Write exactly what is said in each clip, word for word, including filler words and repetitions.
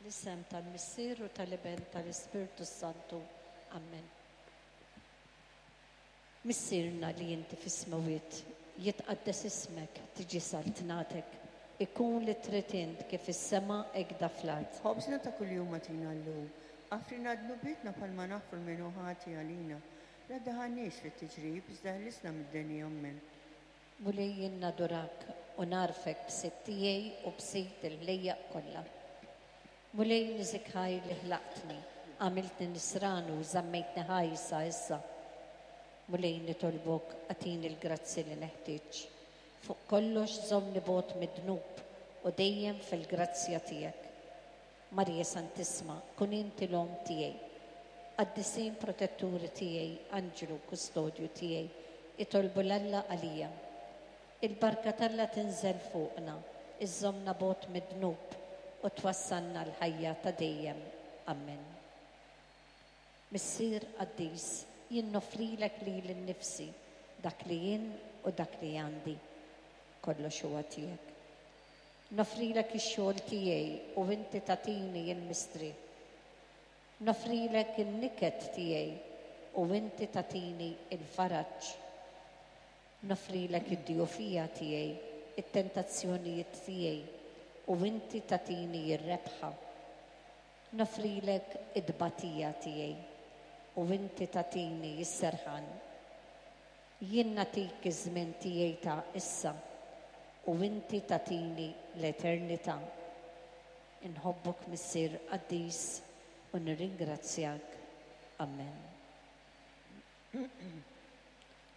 Fl-isem tal-Missier u tal-Iben tal-Ispirtu Santu. Amen. Missierna li inti fis-smewwiet, jitqaddes ismek, tiġi saltnatek, ikun li trid int kif fis-sema hekk fl-art. Ħobżna ta' kuljum agħtina llum. Aħfrilna dnubietna bħalma naħfru lil min hu ħati għalina. La ddaħħalniex fit-tiġrib, iżda ħlisna mid-deni. Amen. Mulej jien nadurak u nagħrfek b'Sid tiegħi u b'Sid il-ħlejjaq kollha. Mulej niżżik ħajr li ħlaqtni, għamiltni nisrani u żammejtni ħaj sa issa. Mulej nitolbok agħtini l-grazzi li neħtieġ. Fuq kollox żommni bogħod mid-dnub u dejjem fil-grazzja tiegħek. Marija Santissima, kun inti l-omm tiegħi. Qaddisin protetturi tiegħi, anġlu kustodju tiegħi, itolbu 'l Alla għalija. Il-barka t'Alla tinżel fuqna, iżżommna bogħod mid-dnub u twassalna l-ħajja ta' dejjem. Amen. Missier qaddis, jien noffrilek lili nnifsi, dak li jien u dak li għandi. Kollox huwa tiegħek. Noffrilek ix-xogħol tiegħi u inti tagħtini l-mistrieħ. Noffrilek in-niket tiegħi u inti tagħtini il-faraġ. Noffrilek id-djufija tiegħi, it-tentazzjonijiet tiegħi u inti tagħtini r-rebħa. Noffrilek id-tbatija tiegħi u inti tagħtini s-serħan. Jien nagħtik iż-żmien tiegħi ta' issa u inti tagħtini l-eternità. Inħobbok Missier qaddis u nirringrazzjak. Amen.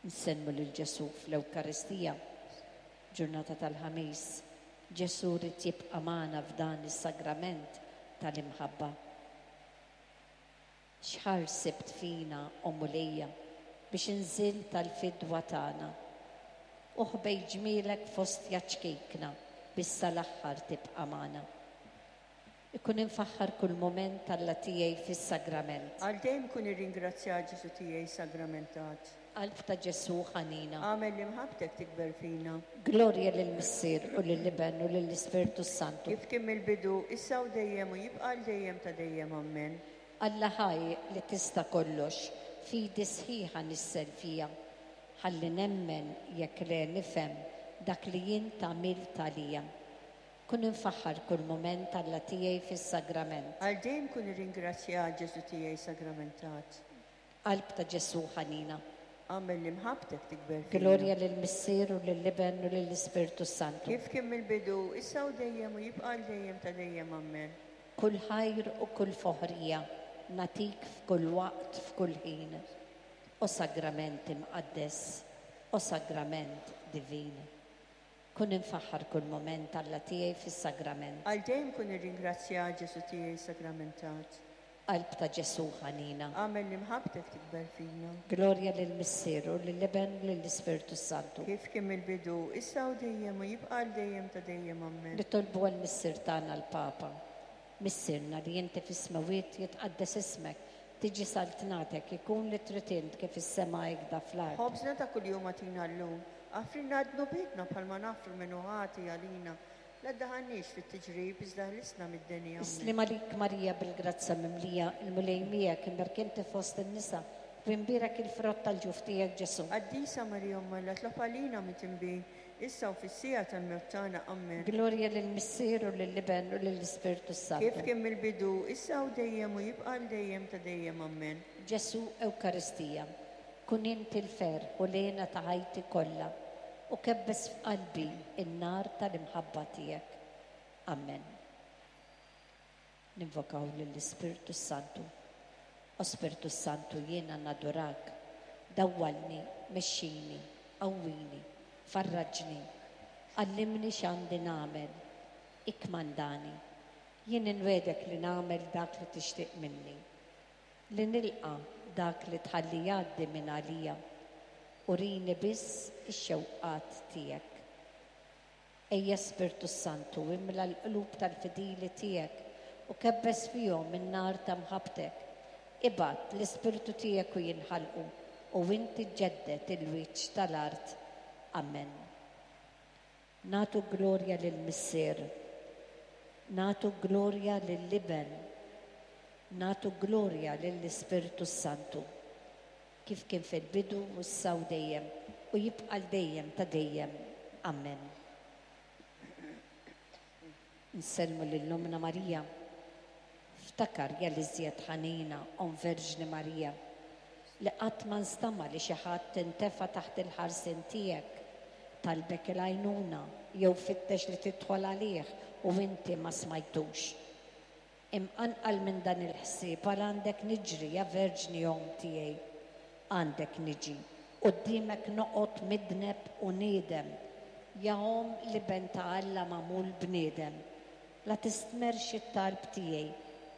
Nsellmu lil Ġesù fl-Ewkaristija, ġurnata tal-Ħamis. Ġesù jrid jibqa' magħna f'dan is-sagrament tal-imħabba. X'ħajr sibt fina, o Mulejja, biex inżilt għall-fidwa tagħna. U ħbejt ġmielek f'ostja ċkejkna biex sal-aħħar tibqa' magħna. Ikun imfaħħar kull mument Alla tiegħi fis-sagrament. Għal dejjem kun irringrazzjat Ġesù tiegħi sagramentat. Qalb ta' Ġesù ħanina. Agħmel li mħabbtek tikber fina. Glorja lill-Missier u lill-Iben u lill-Ispirtu Santu. Kif kien mill-bidu, issa u dejjem u jibqa' għal dejjem ta' dejjem. Amen. Alla ħaj li tista' kollox, fidi sħiħa nissel fija. Ħalli nemmen jekk le nifhem dak li int għamilt għalija. Kun imfaħħar kull mument Alla tiegħi fis-sagrament. Għal dejjem kun irringrazzjat Ġesù tiegħi sagramentat. Qalb ta' Ġesù ħanina. Agħmel li mħabbtek tikber fina. Glorja lill-Missier u lill-Iben u lill-Ispirtu Santu. Kif kien mill-bidu, issa u dejjem u jibqa' għal dejjem ta' dejjem. Amen. Kull ħajr u kull foħrija nagħtik f'kull waqt, f'kull ħin. O sagrament imqaddes, o sagrament divin. Kun imfaħħar kull mument Alla tiegħi fis-sagrament. Għal dejjem kun irringrazzjat Ġesù tiegħi sagramentat. Qalb ta' Ġesù ħanina. Agħmel li mħabbtek tikber fina. Glorja lill-Missier u lill-Iben u lill-Ispirtu Santu. Kif kien mill-bidu, issa u dejjem u jibqa' għal dejjem ta' dejjem. Amen. Nitolbu għall-Missier tagħna l-Papa. Missierna li inti fis-smewwiet jitqaddes ismek, tiġi saltnatek, ikun li trid int kif is-sema hekk fl-art. Ħobżna ta' kuljum agħtina llum. Aħfrilna dnubietna bħalma naħfru min hu ħati għalina. La ddaħħalniex fit-tiġrib, iżda ħlisna mid-deni. Amen. Is-sliem għalik Marija bil-grazzja mimlija, il-Mulej miegħek, imberka inti fost in-nisa, u imbierek il-frott tal-ġuf tiegħek Ġesù. Qaddisa Marija Omm Alla, itlob għalina midinbin, issa u fis-siegħa tal-mewt tagħna. Amen. Glorja lill-Missier u lill-Iben u lill-Ispirtu Santu. Kif kien mill-bidu, issa u dejjem u jibqa' għal dejjem ta' dejjem. Amen. Ġesù Ewkaristija, kun inti l-ferħ u l-hena ta' ħajti kollha u kebbes f'qalbi in-nar tal-imħabba tiegħek. Amen. Ninvokaw lill-Ispirtu Santu. O Spirtu Santu, jiena nadurak, dawwalni, mexxini, qawwini, farraġni, għallimni x'għandi nagħmel, ikkmandani. Jien inwegħdek li nagħmel dak li tixtieq minni, li nilqa' dak li tħalli jgħaddi minn għalija, urini biss ix-xewqat tiegħek. Ejja Spirtu Santu, imla l-qlub tal-fidili tiegħek u kebbes fihom in-nar ta' mħabbtek. Ibgħat l-Ispirtu tiegħek u jinħalqu u inti ġġedded il-wiċċ tal-art. Amen. Nagħtu glorja lill-Missier, Nagħtu glorja lill-Iben, nagħtu glorja lill-Ispirtu Santu, kif kien fil-bidu u issa u dejjem, u jibqa' l dejjem ta' dejjem. Amen. Nsellmu lil Ommna Marija. Ftakar ja l-iżjed ħanina, Omm Verġni Marija, li qatt ma nstama' li xi ħadd intefa' taħt il-ħarsien tiegħek, talbek il-għajnuna jew fittex li tidħol għalih u inti ma smajtux. Imqanqal minn dan il-ħsieb għal għandek niġri, ja Verġni Omm tiegħi. Għandek niġi, quddiemek noqgħod midneb u niedem, ja Omm l-Iben ta' Alla magħmul bniedem. La tistmerx it-talb tiegħi,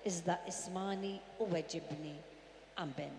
iżda ismani u weġibni. Amen.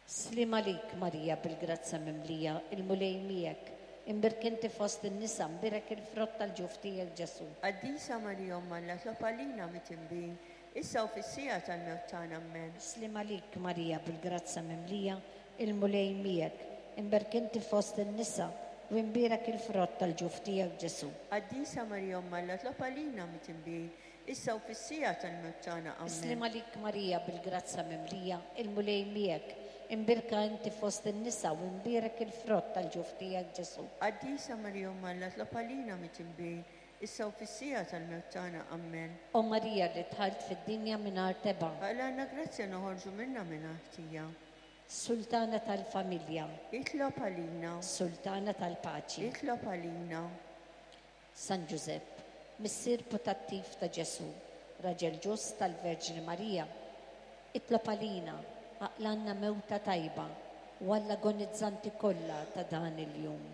Sliem għalik, Marija, bil-grazzja mimlija, il-Mulej miegħek, imbierka inti fost in-nisa, mbierek il-frott tal-ġuf tiegħek, Ġesù. Qaddisa Marija Omm Alla, itlob għalina midinbin, issa u fis-siegħa tal-mewt tagħna. Amen. Sliem għalik, Marija, bil-grazzja mimlija, il-Mulej miegħek, imbierka inti fost in-nisa, u mbierek il-frott tal-ġuf tiegħek, Ġesù. Qaddisa Marija Omm Alla, itlob għalina midinbin, issa u fis-siegħa tal-mewt tagħna. Amen. Sliem għalik, Marija, bil-grazzja mimlija, il-Mulej miegħek, imbierka inti fost in-nisa u mbierek il-frott tal-ġuf tiegħek, Ġesù. Qaddisa Marija Omm Alla, itlob għalina midinbin, issa u fis-siegħa tal-mewt tagħna. Amen. O Marija li dħalt fid-dinja mingħajr tebgħa. Aqlgħalna grazzja noħorġu minnha mingħajr ħtija. Sultana tal-familja. Itlob għalina. Sultana tal-paċi. Itlob għalina. San Ġużepp, missier putattiv ta' Ġesù, raġel ġust tal-Verġni Marija, itlob għalina, aqlgħalna mewta tajba u għall-agonizzanti kollha ta' dan il-jum.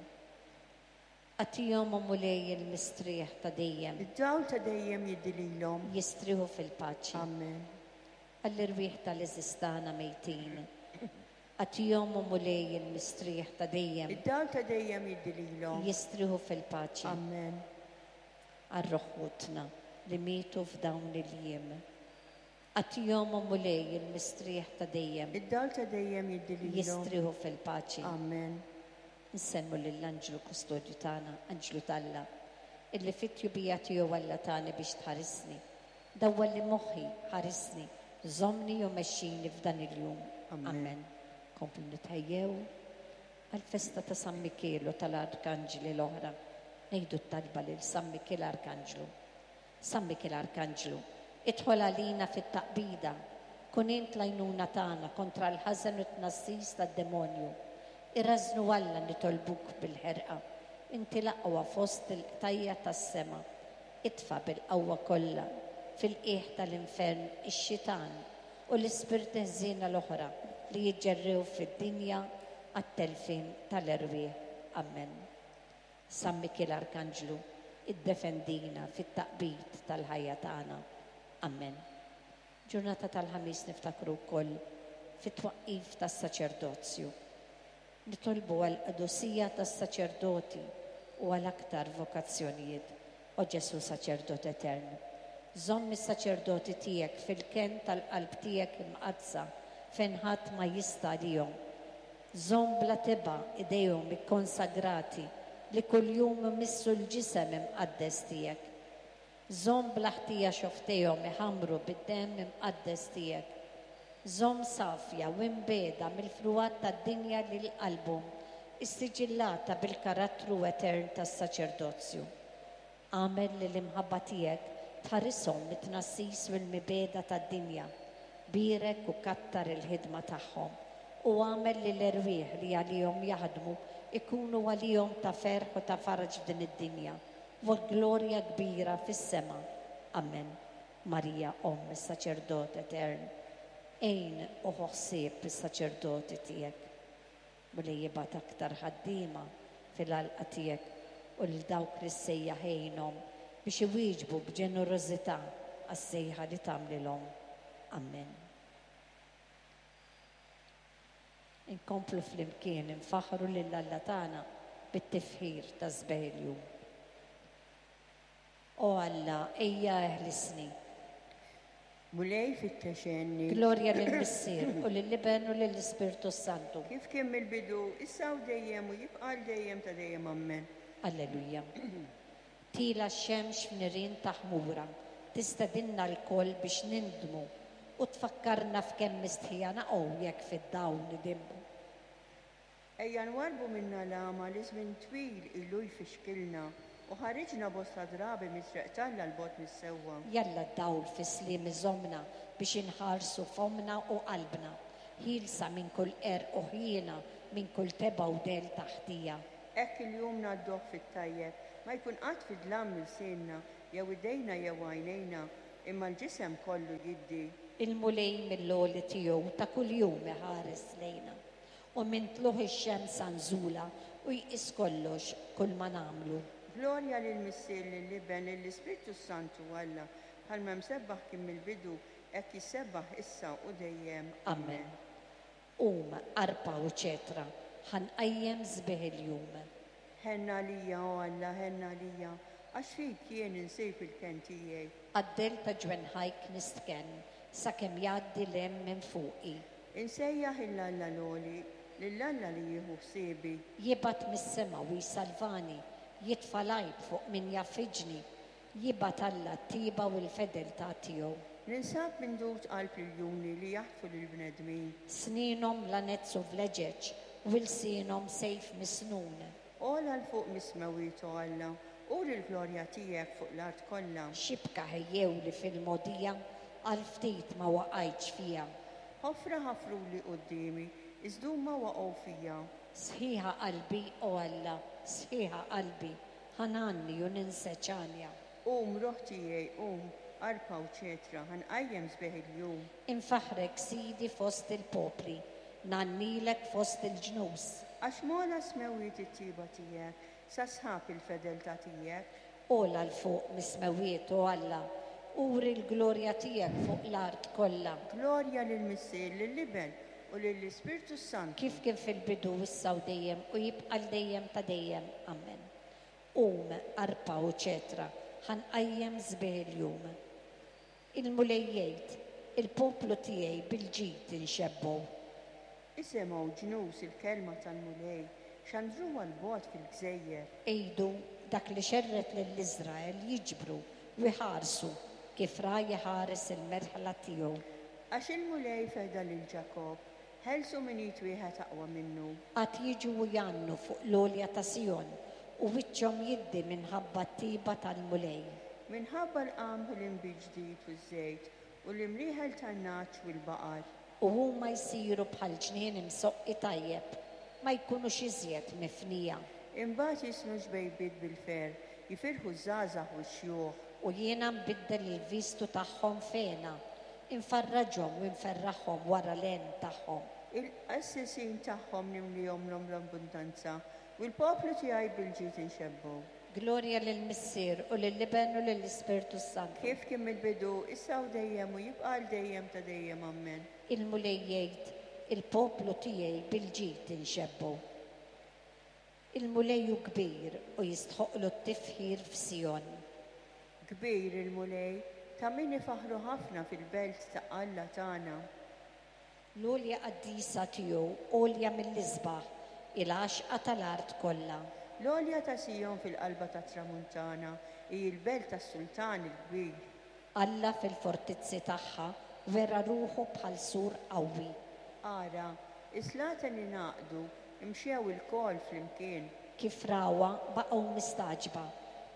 Agħtihom, o Mulej, il-mistrieħ ta' dejjem. Id-dawl ta' dejjem jiddi lilhom. Jistrieħu fil-paċi. Amen. Għall-irwieħ tal-għeżież tagħna mejtin. Agħtihom, o Mulej, il-mistrieħ ta' dejjem. Id-dawl ta' dejjem jiddi lilhom. Jistrieħu fil-paċi. Amen. Għal ruħ ħutna li mietu f'dawn il-jiem. Agħtihom, o Mulej, il-mistrieħ ta' dejjem. Id-dawl ta' dejjem jiddi lilhom. Jistrieħu fil-paċi. Amen. Nsellmu lill-Anġlu Kustodju tagħna, Anġlu t'Alla, illi fit-tjubija tiegħu Alla tani biex tħarisni. Dawwalli moħħi, ħarisni, żommni u mexxini f'dan il-jum. Amen. Amen. Komplu nitħejjew għal-festa ta' San Mikiel u tal-Arkanġli l-oħra. Ngħidu t-talba lil San Mikiel Arkanġlu. San Mikiel Arkanġlu, idħol għalina fit-taqbida, kun int l-għajnuna tagħna kontra l-ħażen u t-tnassis tad-demonju. Irażżnu Alla nitolbuk bil-ħerqa, inti l-aqwa fost il-qtajja tas-sema. Itfa' bil-qawwa kollha fil-qiegħ tal-infern ix-xitan u l-ispirti ħżiena l-oħra li jiġġerrew fid-dinja għat-telfin tal-erwieħ. Amen. San Mikiel Arkanġlu, iddefendina fit-taqbid tal-ħajja tagħna. Amen. Ġurnata tal-Ħamis niftakru wkoll fit-twaqqif tas-saċerdozju. Nitolbu għal qdusija tas-saċerdoti u għal aktar vokazzjonijiet. O Ġesu saċerdot etern, żomm is-saċerdoti tiegħek fil-kenn tal-qalb tiegħek imqaddsa fejn ħadd ma jista' għalihom. Żomm bla tebgħa idejhom ikkonsagrati li kuljum imissu l-ġisem imqaddes tiegħek. Żomm bla ħtija xofftejhom iħammru bid-demm imqaddes tiegħek. Żomm safja u mbiegħda mill-frugħat tad-dinja lil qalbhom, issiġillata bil-karattru etern tas-saċerdozju. Agħmel li l-imħabba tiegħek tħarishom mit-tnassis u l-mibegħda tad-dinja. Bierek u kattar il-ħidma tagħhom u agħmel li l-erwieħ li għalihom jaħdmu ikunu għalihom ta' ferħ u ta' faraġ f'din id-dinja u glorja kbira fis-sema. Amen. Marija, Omm is-saċerdot etern, għin u ħu ħsieb is-saċerdoti tiegħek. Mulej jibgħat aktar ħaddiema fil-għalqa tiegħek u lil dawk li ssejjaħ għinhom biex iwieġbu b'ġenerożità għas-sejħa li tagħmlilhom. Amen. Inkomplu flimkien infaħħru lil Alla tagħna bit-tifħir ta' sbieħ il-jum. O Alla, ejja eħlisni. Mulej fittex għenni. Glorja lill-Missier u lill-Iben u lill-Ispirtu Santu. Kif kien mill-bidu, issa u dejjem u jibqa' għal dejjem ta' dejjem. Amen. Alleluja. Tiela' x-xemx f'nirien ta' ħmura, tistedinna lkoll biex nindmu u tfakkarna f'kemm mistħija naqgħu jekk fid-dawl nidimmu. Ejja nwarrbu minna l-għama li żmien twil ilu jfixkilna u ħariġna bosta drabi mit-triq t'Alla 'l bogħod mis-sewwa. Jalla d-dawl fis-sliem iżommna biex inħarsu fommna u qalbna, ħielsa minn kull qerq u ħjiena, minn kull tebgħa u dell ta' ħtija. Hekk il-jum ngħadduh fit-tajjeb, ma jkun qatt fid-dlam ilsienna, jew idejna jew għajnejna, imma l-ġisem kollu jiddi. Il-Mulej mill-għoli tiegħu ta' kuljum iħares lejna, u minn tlugħ ix-xemx sa nżulha u jqis kollox kull ma nagħmlu. Glorja lill-Missier, lill-Iben, lill-Ispirtu Santu Alla, bħalma msebbaħ kien mill-bidu, hekk jissebbaħ issa u dejjem. Amen. Qum, arpa u ċetra, ħa nqajjem sbieħ il-jum. Ħenn għalija, o Alla, ħenn għalija, għax fik jien insib il-kenn tiegħi. Għad-dell ta' ġwenħajk nistkenn, sakemm jgħaddi l-hemm minn fuqi. Insejjaħ 'il Alla l-għoli, lil Alla li jieħu ħsiebi. Jibgħat mis-sema u jsalvani, jitfa' l-għajb fuq min jgħaffiġni, jibgħat Alla t-tjieba u l-fedeltà tiegħu. Ninsab mindud qalb l-iljuni li jaħtfu lill-bnedmin. Snienhom lanez u vleġeġ, u lsienhom sejf misnun. Ogħla 'l fuq mis-smewwiet, o Alla, uri l-glorja tiegħek fuq l-art kollha. Xibka ħejjewli fil-mogħdija, għal ftit ma waqajtx fiha. Ħofra ħafruli quddiemi, iżda huma waqgħu fiha. Sħiħa qalbi, o Alla, sħiħa qalbi, ħa ngħanni u ninseġ għanja. Qum, ruħ tiegħi, qum, arpa u ċetra, ħa nqajjem sbieħ il-jum. Infaħħrek Sidi fost il-popli, ngħannilek fost il-ġnus. Għax m'ogħla s-smewwiet it-tjieba tiegħek, sa sħab il-fedeltà tiegħek. Ogħla 'l fuq mis-smewwiet, o Alla, uri l-glorja tiegħek fuq l-art kollha. Glorja lill-Missier, lill-Iben u lill-Ispirtu Santu. Kif kien fil-bidu issa u dejjem u jibqa' 'l dejjem ta' dejjem. Amen. Qum, arpa u ċetra, ħa nqajjem sbieħ il-jum. Il-Mulej jgħid, il-poplu tiegħi bil-ġid inxebbgħu. Isimgħu ġnus il-kelma tal-Mulej, xandruha 'l bogħod fil-gżejjer. Għidu dak li xerred lil Iżrael jiġbru u jħarsu kif ragħaj iħares il-merħla tiegħu. Għax il-Mulej feda lil Ġakobb, ħelsu minn id wieħed aqwa minnu. Għad jiġu u jgħannu fuq l-għolja ta' Sijon u wiċċhom jiddi minħabba t-tjieba tal-Mulej. Minħabba l-qamħ u l-inbid ġdid u ż-żejt u l-imrieħel tan-nagħaġ u l-baqar. U huma jsiru bħal ġnien imsoqqi tajjeb, ma jkunux iżjed mifnija. Imbagħad jisnu ġbejbiet bil-ferħ, jifirħu ż-żgħażagħ u x-xjuħ. U jiena nbiddel il-vistu tagħhom f'hena, infarraġhom u nferraħhom wara l-għen tagħhom. Il-qassisin tagħhom nimlihom l-abbundanza u l-poplu tiegħi bil-ġid inxebbgħu. Glorja lill-Missier u lill-Iben u lill-Ispirtu Santu. Kif kien mill-bidu, issa u dejjem u jibqa' għal dejjem ta' dejjem. Amen. Il-Mulej jgħid, il-poplu tiegħi bil-ġid inxebbgħu. Il-Mulej hu kbir u jistħoqlu t-tifħir f'Sijon. Kbir il-Mulej, ta' min ifaħħru ħafna fil-belt ta' Alla tagħna. L-għolja qaddisa tiegħu għolja mill-isbaħ, il-għaxqa tal-art kollha. L-għolja ta' Sijon fil-qalba tat-tramuntana hi l-belt tas-Sultan il-kbir. Alla fil-fortizzi tagħha wera ruħu bħal sur qawwi. Ara, is-slaten ingħaqdu, imxew ilkoll flimkien. Kif rawha baqgħu mistagħġba,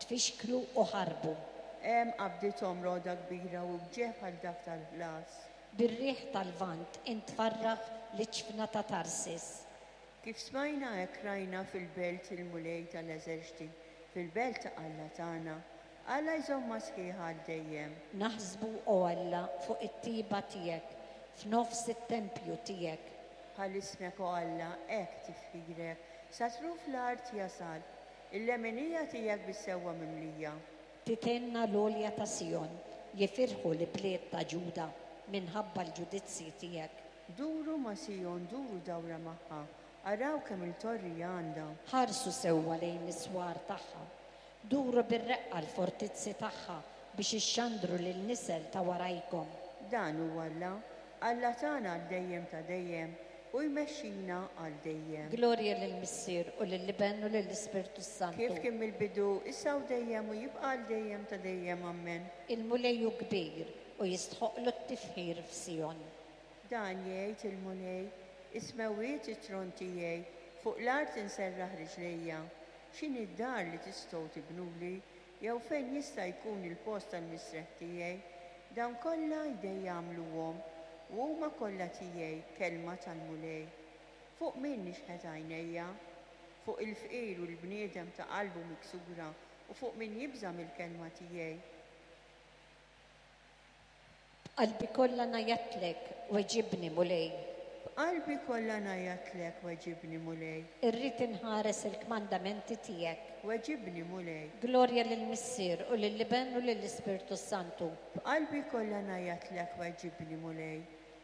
tfixklu u ħarbu. Hemm qabdithom roda kbira u wġigħ bħal dak tal-ħlas. Bir-riħ tal-vant intfarraħ l-iġfna ta' Tarsis. Kif smajna hekk rajna fil-belt il-Mulej tal-eżerċti, fil-belt ta' Alla tagħna, Alla jżommha sħiħa għal dejjem. Naħsbu, o Alla, fuq it-tjieba tiegħek, f'nofs it-tempju tiegħek. Bħal ismek, o Alla, hekk tifħirek, sa truf l-art jasal, il-leminija tiegħek bis-sewwa mimlija. Titenna l-għolja ta' Sijon, jifirħu l-bliet ta' Ġuda minħabba l-ġudizzji tiegħek. Duru ma' Sijon, duru dawra magħha, araw kemm il-torri għandha. Ħarsu sewwa lejn is-swar tagħha, duru bir-reqqa l-fortizzi tagħha biex ixxandru lil nisel ta' warajkom. Dan hu Alla, Alla tagħna għal dejjem ta' dejjem, u jmexxina għal dejjem. Glorja lill-Missier u lill-Iben u lill-Ispirtu Santu. Kif kien mill-bidu, issa u dejjem u jibqa' għal dejjem ta' dejjem. Amen. Il-Mulej hu kbir u jistħoqlu t-tifħir f'Sijon. Dan jgħid il-Mulej, is-smewwiet it-tron tiegħi, fuq l-art inserraħ riġlejja. X'inhi d-dar li tistgħu tibnuli, jew fejn jista' jkun il-post tal-mistrieħ tiegħi? Dawn kollha jdejja jagħmluhom, u huma kollha tiegħi, kelma tal-Mulej. Fuq min nixħet għajnejja? Fuq il-fqir u l-bniedem ta' qalbu miksura, u fuq min jibża' mill-kelma tiegħi. B'qalbi kollha ngħajjatlek, weġibni Mulej. B'qalbi kollha ngħajjatlek, weġibni Mulej. Irrid inħares il-kmandamenti tiegħek. Weġibni Mulej. Glorja lill-Missier u lill-Iben u lill-Ispirtu Santu. B'qalbi kollha ngħajjatlek, weġibni Mulej.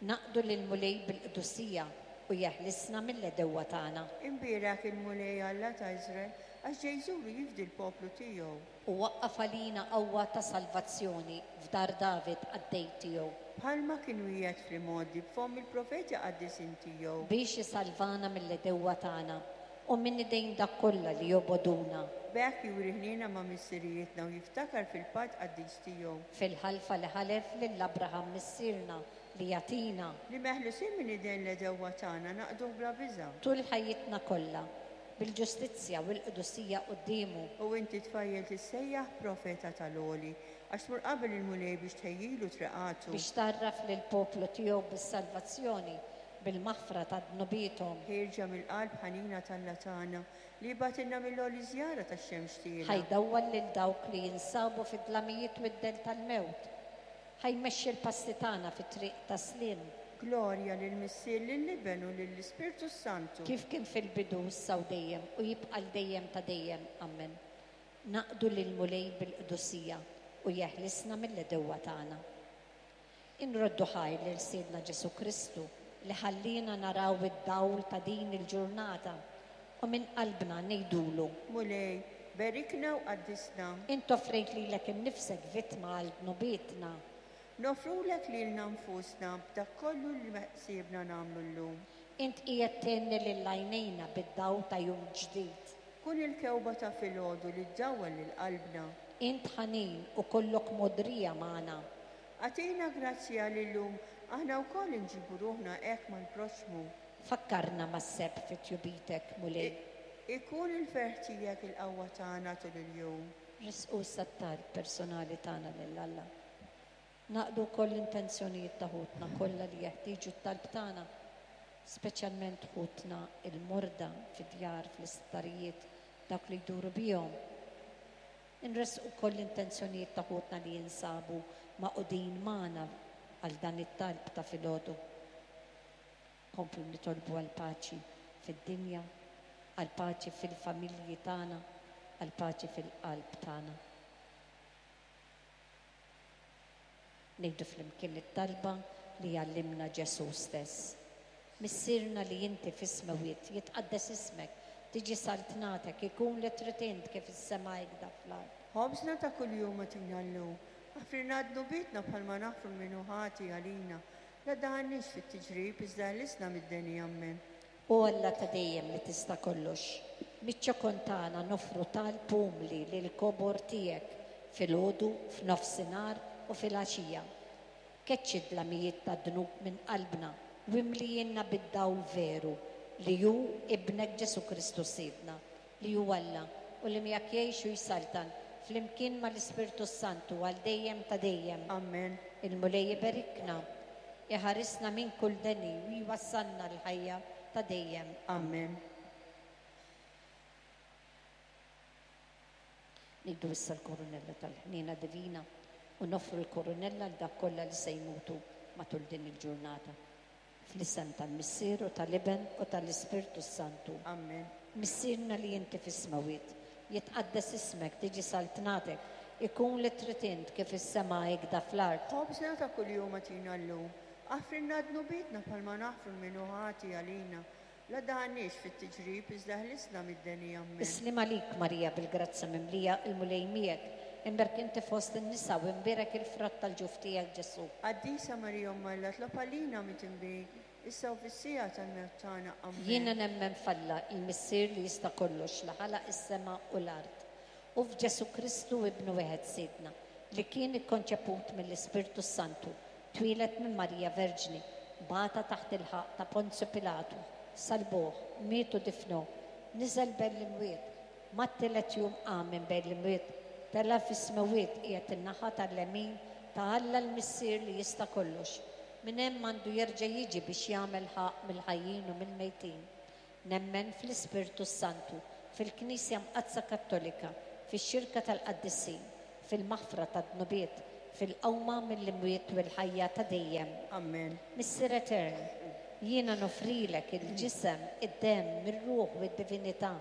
Naqdu lill-Mulej bil-qdusija u jeħlisna mill-għedewwa tagħna. Imbierek il-Mulej Alla ta' Iżrael, għax ġej jżur u jifdi l-poplu tiegħu. U waqqaf għalina qawwa ta' salvazzjoni f'dar David qaddej tiegħu. Bħalma kien wiegħed fl-imgħoddi b'fomm il-profeti qaddisin tiegħu. Biex isalvana mill-għedewwa tagħna u minn idejn dak kollha li jobogħduna. B'hekk juri ħniena ma' missirijietna u jiftakar fil-patt qaddis tiegħu. Fil-ħalfa li ħalef lil Abraham missierna li jagħtina. Li meħlusin minn idejn l-għedewwa tagħna naqduh bla biża'. Tul ħajjitna kollha, bil-ġustizzja u l-qdusija quddiemu. U inti tfajjel tissejjaħ profeta tal-Għoli, għax tmur qabel il-Mulej biex tħejjilu triqatu. Biex tgħarraf lill-poplu tiegħu bis-salvazzjoni, bil-maħfra ta' dnubiethom. Ħierġa mill-qalb ħanina t'Alla tagħna li bagħtilna mill-għoli żjara tax-xemx tiegħu. Ħajdawwal lil dawk li jinsabu fid-dlamijiet u d-dell tal-mewt. Ħajmexxi l-passi tagħna fit-triq ta' sliem. Glorja lill-Missier, lill-Iben u lill-Ispirtu Santu. Kif kien fil-bidu issa u dejjem u jibqa' l dejjem ta' dejjem. Amen. Naqdu lill-Mulej bil-qdusija u jeħlisna mill-għedewwa tagħna. Inroddu ħajr lil Sidna Ġesu Kristu li ħallina naraw id-dawl ta' din il-ġurnata u minn qalbna ngħidulu: Mulej, berikna u qaddisna. Int offrejt lilek innifsek vittma għal dnubietna. Nofrulek lilna nfusna b'dak kollu li ħsiebna nagħmlu llum. Int qiegħed tgħinni lil għajnejna bid-dawl ta' jum ġdid. Kun il-kewba ta' filgħodu li ddawwal lil qalbna. Int ħanin u kollok mogħdrija magħna. Agħtina grazzja li llum aħna wkoll inġibu ruħna hekk mal-proxxmu. Fakkarna mas-sebħ fi tjubitek, Mulej. I-, ikun il-ferħ tiegħek il-qawwa tagħna tul il-jum. Risqu s-sattar personali tagħna lil Alla. Naqdu wkoll l-intenzjonijiet ta' ħutna kollha li jeħtieġu t-talb tagħna, speċjalment ħutna il-morda fid-djar, fl-isptarijiet, dawk li jduru bihom. Inresqu wkoll l-intenzjonijiet ta' ħutna li jinsabu magħqudin magħna għal dan it-talb ta' filgħodu. Komplu nitolbu għall-paċi fid-dinja, għall-paċi fil-familji tagħna, għall-paċi fil-qalb tagħna. Ngħidu flimkien it-talba li għallimna Ġesu stess. Missierna li inti fis-smewwiet, jitqaddes ismek, tiġi saltnatek, ikun li trid int kif is-sema hekk fl-art. Ħobżna ta' kuljum agħtina llum, aħfirna dnubietna bħalma naħfru min hu ħati għalina, la ddaħħalniex fit-tiġrib iżda ħlisna mid-deni. Amen. O Alla ta' dejjem li tista' kollox, miċ-ċokon tagħna nofru talb umli lil kobor tiegħek filgħodu, f'nofsinhar u filgħaxija. Keċċi d-dlamijiet ta' dnub minn qalbna u imlijinna bid-dawl veru li hu ibnek Ġesu Kristu Sidna, li hu Alla u li miegħek jgħix u jsaltan flimkien mal-Ispirtu Santu għal dejjem ta' dejjem. Amen. Il-Mulej iberikna, iħarisna minn kull deni u jwassalna l-ħajja ta' dejjem. Amen. Niddu issa l-koronella tal-ħniena divina u noffru l-koronella għal dak kollha li se jmutu matul din il-ġurnata. Fl-isem tal-Missier u tal-Iben u tal-Ispirtu Santu. Amen. Missierna li inti fis-smewwiet, jitqaddes ismek, tiġi saltnatek, ikun li trid int kif is-sema hekk fl-art. Ħobżna ta' kuljum agħtina llum, aħfrilna dnubietna bħalma naħfru min hu ħati għalina, la ddaħħalniex fit-tiġrib iżda ħlisna mid-deni. Amen. Is-sliem għalik Marija bil-grazzja mimlija, il-Mulej miegħek, imbierek inti fost in-nisa u imbierek il-frott tal-ġuf tiegħek Ġesu. Qaddisa Marija Omm Alla, tlob għalina midinbin, Issa u fis-siegħa tal-mewt tagħna. Jiena Amen. nemmen f'Alla, il-Missier li jista' kollox, li ħalaq is-sema u l-art. U f'Ġesu Kristu ibnu wieħed Sidna, li kien ikkonċeput mill-Ispirtu Santu, twieled minn Marija Verġni, bata taħt il-ħaqq ta' Ponzju Pilatu, salbuh, miet u difnuh, niżel bejn l-imwiet, mat-tielet jum qam minn bejn l-imwiet, tela' fis-smewwiet qiegħed in-naħa tal-lemin ta' Alla l-Missier li jista' kollox. Minn hemm għandu jerġa' jiġi biex jagħmel ħaqq mill-ħajjin u mill-mejtin. Nemmen fl-Ispirtu Santu, fil-Knisja Mqaddsa Kattolika, fix-xirka tal-Qaddisin, fil-maħfra tad-dnubiet, fil-qawma mill-imwiet u l-ħajja ta' dejjem. Amen. Missier Etern, jiena nofrilek il-ġisem, id-demm, ir-ruħ u d-divinità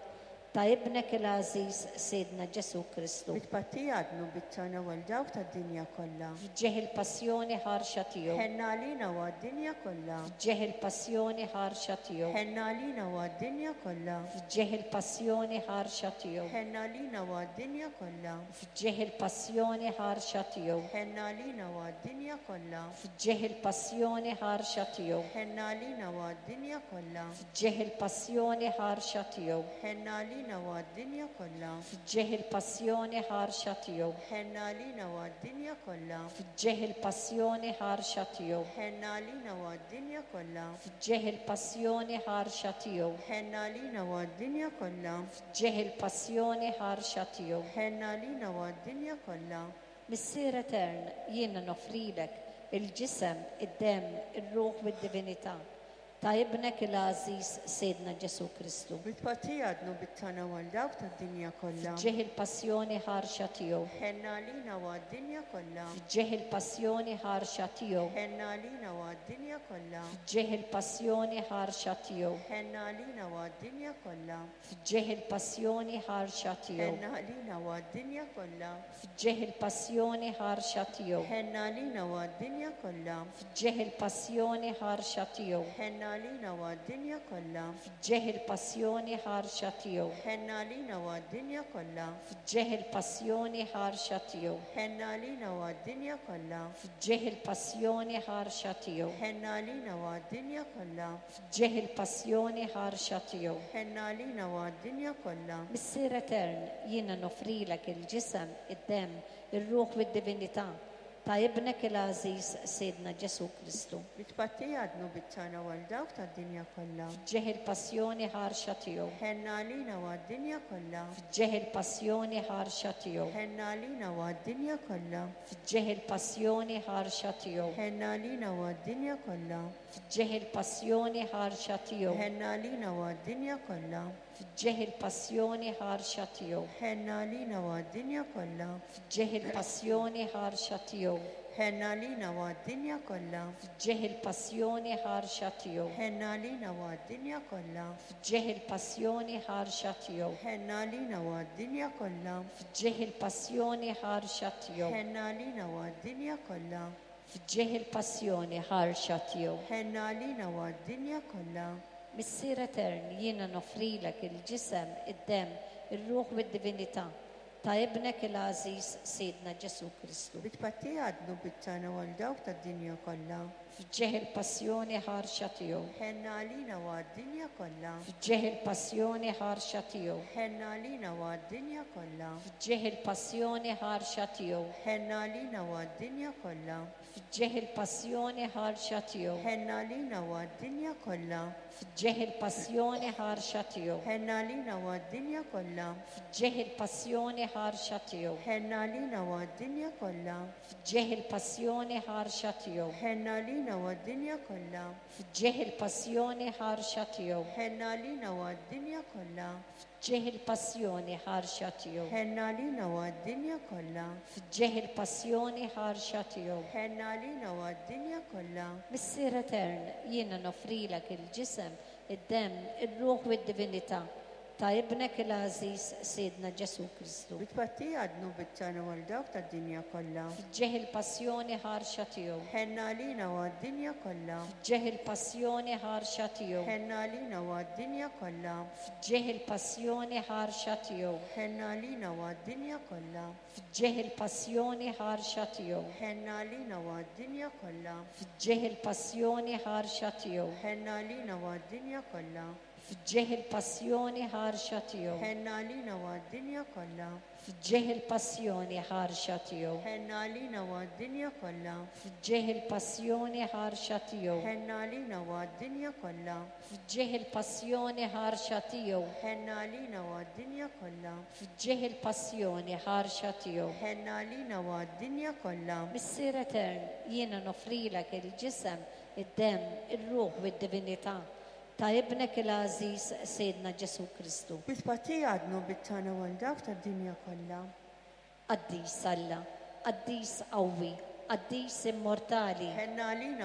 ta' ibnek il-għażiż Sidna Ġesu Kristu. Bi tpattija għad-dnubiet tagħna u għal dawk tad-dinja kollha. F'ġieħ il-passjoni ħarxa tiegħu. Ħenn għalina u għad-dinja kollha. F'ġieħ il-passjoni ħarxa tiegħu. Ħenn għalina u għad-dinja kollha. F'ġieħ il-passjoni ħarxa tiegħu. Ħenn għalina u għad-dinja kollha. F'ġieħ il-passjoni ħarxa tiegħu. Ħenn għalina u għad-dinja kollha. F'ġieħ il-passjoni ħarxa tiegħu. Ħenn għalina u għad-dinja kollha. F'ġieħ il-passjoni ħarxa tiegħu. Ħenn għalina u għad-dinja kollha. F'ġieħ il-passjoni ħarxa tiegħu. Ħenn għalina u għad-dinja kollha. F'ġieħ il-passjoni ħarxa tiegħu. Ħenn għalina u għad-dinja kollha. F'ġieħ il-passjoni ħarxa tiegħu. Ħenn għalina u għad-dinja kollha. F'ġieħ il-passjoni ħarxa tiegħu. Ħenn għalina u għad-dinja kollha. Missier Etern, jiena nofrilek il-ġisem, id-demm, ir-ruħ u d-divinità ta' ibnek il-għażiż Sidna Ġesu Kristu. Bi tpattija għad-dnubiet tagħna u għal dawk tad-dinja kollha. F'ġieħ il-passjoni ħarxa tiegħu. Ħenn għalina u għad-dinja kollha. F'ġieħ il-passjoni ħarxa tiegħu. Ħenn għalina u għad-dinja kollha. F'ġieħ il-passjoni ħarxa tiegħu. Ħenn għalina u għad-dinja kollha. F'ġieħ il-passjoni ħarxa tiegħu. Ħenn għalina u għad-dinja kollha. F'ġieħ il-passjoni ħarxa tiegħu. Ħenn għalina u għad-dinja kollha. F'ġieħ il-passjoni ħarxa tiegħu. Ħenn għalina u għad-dinja kollha. F'ġieħ il-passjoni ħarxa tiegħu. Ħenn għalina u għad-dinja kollha. F'ġieħ il-passjoni ħarxa tiegħu. Ħenn għalina u għad-dinja kollha. F'ġieħ il-passjoni ħarxa tiegħu. Ħenn għalina u għad-dinja kollha. F'ġieħ il-passjoni ħarxa tiegħu. Ħenn għalina u għad-dinja kollha. Missier Etern, jiena nofrilek il-ġisem, id-demm, ir-ruħ u d-divinità ta' ibnek il-għażiż Sidna Ġesu Kristu. Bi tpattija għad-dnubiet tagħna u għal dawk tad-dinja kollha. F'ġieħ il-passjoni ħarxa tiegħu. Ħenn għalina u għad-dinja kollha. F'ġieħ il-passjoni ħarxa tiegħu. Ħenn għalina u għad-dinja kollha. F'ġieħ il-passjoni ħarxa tiegħu. Ħenn għalina u għad-dinja kollha. F'ġieħ il-passjoni ħarxa tiegħu. Ħenn għalina u għad-dinja kollha. F'ġieħ il-passjoni ħarxa tiegħu. Ħenn għalina u għad-dinja kollha. F'ġieħ il-passjoni ħarxa tiegħu. Ħenn għalina u għad-dinja kollha. F'ġieħ il-passjoni ħarxa tiegħu. Ħenn għalina u għad-dinja kollha. F'ġieħ il-passjoni ħarxa tiegħu. Ħenn għalina u għad-dinja kollha. F'ġieħ il-passjoni ħarxa tiegħu. Ħenn għalina u għad-dinja kollha. F'ġieħ il-passjoni ħarxa tiegħu. Ħenn għalina u għad-dinja kollha. Missier Etern, jiena nofrilek il-ġisem, id-demm, ir-ruħ u d-divinità ta' ibnek il-għażiż Sidna Ġesu Kristu. Bi tpattija għad-dnubiet tagħna u għal dawk tad-dinja kollha. F'ġieħ il-passjoni ħarxa tiegħu. Ħenn għalina u għad-dinja kollha. F'ġieħ il-passjoni ħarxa tiegħu. Ħenn għalina u għad-dinja kollha. F'ġieħ il-passjoni ħarxa tiegħu. Ħenn għalina u għad-dinja kollha. F'ġieħ il-passjoni ħarxa tiegħu. Ħenn għalina u għad-dinja kollha. F'ġieħ il-passjoni ħarxa tiegħu. Ħenn għalina u għad-dinja kollha. F'ġieħ il-passjoni ħarxa tiegħu. Ħenn għalina u għad-dinja kollha. F'ġieħ il-passjoni ħarxa tiegħu. Ħenn għalina u għad-dinja kollha. F'ġieħ il-passjoni ħarxa tiegħu. Ħenn għalina u għad-dinja kollha. F'ġieħ il-passjoni ħarxa tiegħu. Ħenn għalina u għad-dinja kollha. F'ġieħ il-passjoni ħarxa tiegħu. Ħenn għalina u għad-dinja kollha. Missier Etern, jiena nofrilek il-ġisem, id-demm, ir-ruħ u d-divinità Ta' ibnek il-għażiż Sidna Ġesù Kristu. Bi tpattija għad-dnubiet tagħna u għal dawk tad-dinja kollha. F'ġieħ il-passjoni ħarxa tiegħu. Ħenn għalina u għad-dinja kollha. F'ġieħ il-passjoni ħarxa tiegħu. Ħenn għalina u għad-dinja kollha. F'ġieħ il-passjoni ħarxa tiegħu. Ħenn għalina u għad-dinja kollha. F'ġieħ il-passjoni ħarxa tiegħu. Ħenn għalina u għad-dinja kollha. F'ġieħ il-passjoni ħarxa tiegħu. Ħenn għalina u għad-dinja kollha. F'ġieħ il-passjoni ħarxa tiegħu. Ħenn għalina u għad-dinja kollha. F'ġieħ il-passjoni ħarxa tiegħu. Ħenn għalina u għad-dinja kollha. F'ġieħ il-passjoni ħarxa tiegħu. Ħenn għalina u għad-dinja kollha. F'ġieħ il-passjoni ħarxa tiegħu. Ħenn għalina u għad-dinja kollha. F'ġieħ il-passjoni ħarxa tiegħu. Ħenn għalina u għad-dinja kollha. Missier Etern, jiena nofrilek il-ġisem, id-demm, ir-ruħ u d-divinità ta' ibnek il-għażiż Sidna Ġesù Kristu. Bi tpattija għad-dnubiet tagħna u għal dawk tad-dinja kollha. Qaddis Alla, qaddis qawwi, qaddis immortali. Ħenn għalina u